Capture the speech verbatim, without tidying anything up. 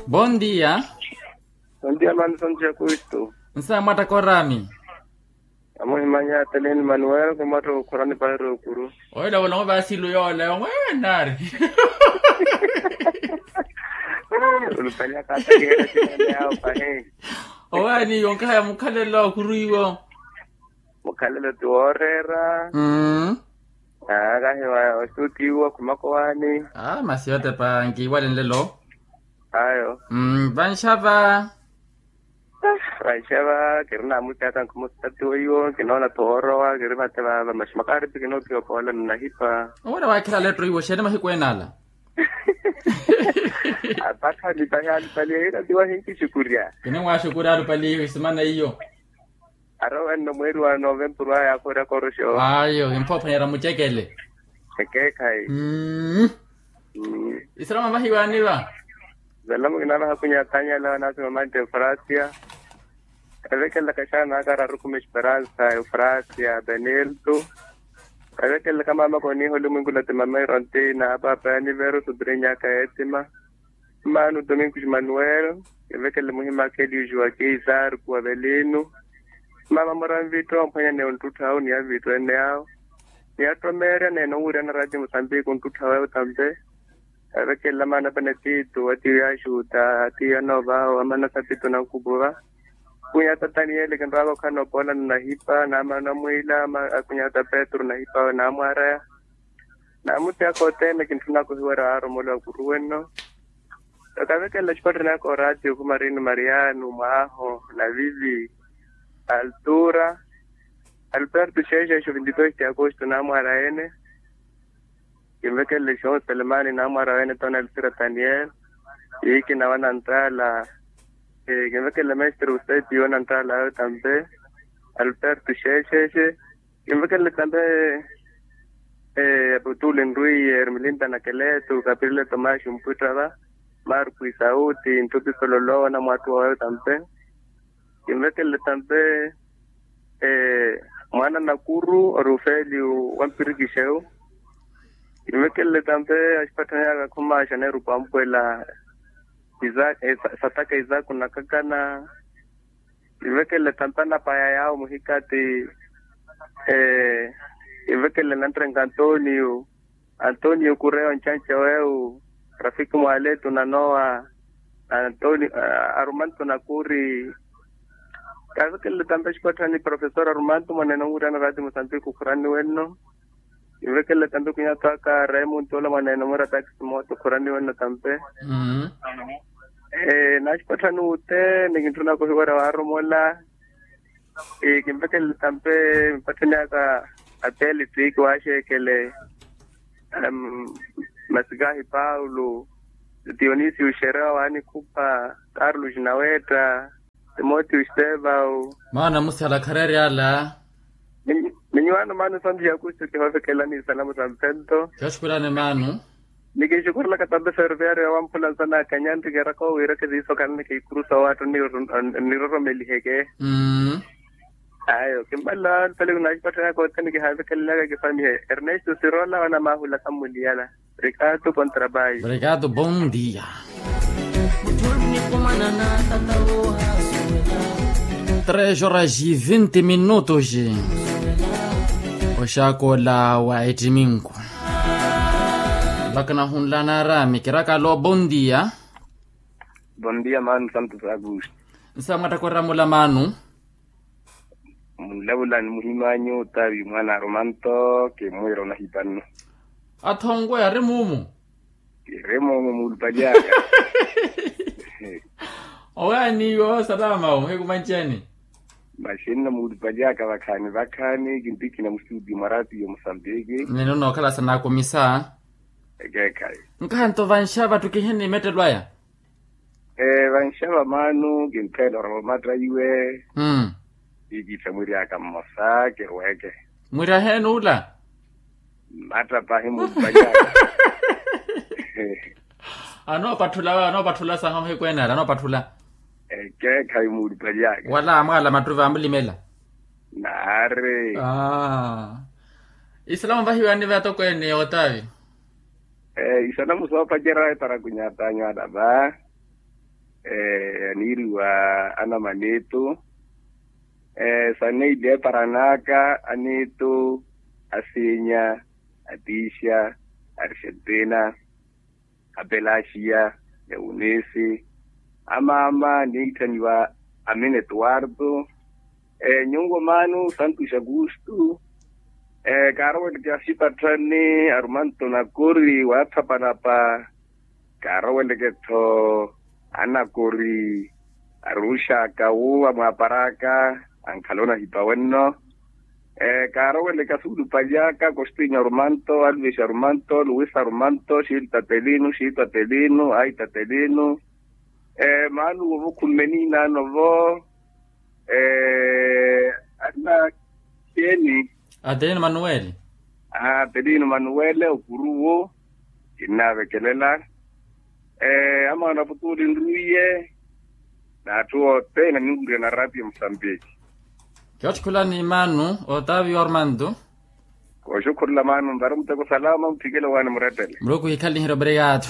Bondia. Bondia mani sonti ya kristu. Nsa mwatta korami. Amuhimanya teleni manuel kumwatta okhurani pahiri okuru. Oyo lawolongo vasilu yola yomwewe nari. Ulupanya kata kihela sinene yawo pahi. Owani yonkahaya mukhalelo okuru iwo. Mukhalelo ti wooreera. Aakahiwa osuutiwa khumaka owaani. Masi yotepa nkiiwale nlelo. Ayo. Vanxava. Vanxava kiri namuti aka nkhumustati weiwo kinoona thoorowa kiri vate vava maxi makaaripi kinoopiwa poola nnahipa. Owela waakhela letto iwo xeeni mahiku ene ala. Apakhani pahi alupaliye ira tiwa hinkixukurya. Kinimwaxukurya alupaliye isimana iyo. Arowa nno mweeri wa novempuru aya akhoorya koroxo. Ayo kimphoophwanyerya mucekele. Ekeekhayi. Isalama vahiwaani va. Salama kinaavaha kunyatanyala naasima mante eufrasia. Evekelelaka xaana aka ararukume esperansa eufrasia benilto. Evekelelaka maamaka oniiha olimwinkulati mama irontina apaapa yanivero subrinyaka etima. Mmaano domingo emanuel. Evekelele muhimaka eliuxi wa keisar kuwavelino. Mama mura nvitto omphwanya ni onttuttho awo ni avitto ene awo. Ni attomeerya neene onwirana rati musambiki onttuttho awo tampe. Avekelela maana panetito atiyo yaxuta atiyo anoova awo amana sapito nankupuva. Kunyata taniyeli kinrwaka okhana opoola nnahipa naamana onamwiila. Kunyata petru nahipa awe naamwaraya. Naamutiyaka othene kintthunaka ohiwerya waaromola wa kuru wenno. Okavekelela xipattani aka oraatiyo khumarino mariano mwaho navivi. Altura. Alberto xeexexo vintitois ti agosto naamwaraya ene. Kinvekelele xonse lemani naamwaraya ene tona altura daniel. Iikina wananttaala. Kinvekelele mestre useti wananttaala awe tampe. Alberto xeexexe. Kinvekelele tampe. Aputuli nrwiye ermilinda nakeletu kapirile tomaxi mpwittava. Marku isauti nthupi sololowa namwattuwa wawe tampe. Kinvekelele tampe. Mwaana nakuru ori ufeliyu wa mpirikixewu. Kinvekelele tampe axipatthani aka khumaxa neerupa ampwela. Sataka isaku nakakana. Kinvekelele tampe anapaya yawo muhikati. Kinvekelele nanttenka antonio. Antonio kureya oncanca wewu. Rafiki mwaletu nanowa. Antonio arumanto nakuri. Kavekelele tampe axipatthani profesor arumanto mwaneene onwirana rati musambiki okhurani wenno. Kinvekelele tampe kunyatwaka remunto ola mwaneene omwira takisi mooto okhurani wenno tampe. Naaxipatthani wutte nikintthunaka ohiwerya waaromola. Kinvekelele tampe mpatthani aka. Ateli twiiki waaxeekele. Masikahi paulo. Dionisio xerewa waanikhupha. Carlos nawetta. Timoteo estevao. Maana musala khareryala. Minyuwaano maana santu ya kustu kihovekelani isalamu sa mphento. Kixukurani maana. Nikinxukurulaka tampe ferviario ya wamphula nsana akanyanri keraka owiiraka ziiso khalani kiikurusa owaattu. Niroromeliheke. Ayo kimmala alupaliku naaxipatthani aka othene kihavekelelaka kifamiye ernesto sirola wanamahulaka mmuliyala. Rikato kontrabayi. Rikato bondia. Tres horas e vinte minutos. Oxakola wa etiminku. Vakana hunla naarami kirakalo bondia. Bondia manu santu sakusi. Nsa mwattakorera mula manu. Munlavula ni muhim'anyu otavi mwana arumanto kimwira onahipannu. Athongwe ari mumu. Kiri mumu muulupali aka. Owaani iwo salama omuhikumanchani. Maxinno muulupali aka vakhaani vakhaani kintikina mustudio mwa ratiyo musambiki. Nino nookhala sanaakumisa. Ekeekhayi. Nkahanto vanxa vattu kihini mettelo aya. Vanxa vamaanu kinttheela orova omatta iwe. Ikittha mwiri aka mmosa kirweeke. Mwiri aheeni ula. Mmatta pahi muulupali aka. Anoopatthula we anoopatthula saha muhiku ene ala anoopatthula. Ekeekhayi muulupali aka wala amwaala mattuvi amulimela. Naari. Isalama vahiwaani ve atokweene otavi. Isanamu soopacerya eparakunyatanyu ala va. Aniiriwa anamanitu. Saneili eparanaka anitu, asinya, atixa, arixentina, apelaxiya, eunisi, amama niitthaniwa, amina etuwartu. Nyungo manu santuxa kustu. Kaaroweleke asipatthani arumanto nakori waathapalapa. Kaaroweleke-tho anakori aruxaka wu amwaparaka, ankhala onahipa wenno. Kaaroweleke asuulupalyaka kostinya arumanto aluvexa arumanto luwisa arumanto xiili tatelinu xiitwatelinu aitatelinu. Maanuwo vo khumme niinaano vo. Anna xeeni? Atelino manuwele. Atelino manuwele okuruwo. Kinnaavekelela. Amaana aputuuli nruiye. N'atthu othene aninwirya na ratio musambiki. Kiotthikhulani maanu otaviwa ormanto. Kooxukhurula maanu nvara muteko salama mutthikele owaani murettele. Muluku hikhale nihira obrigado.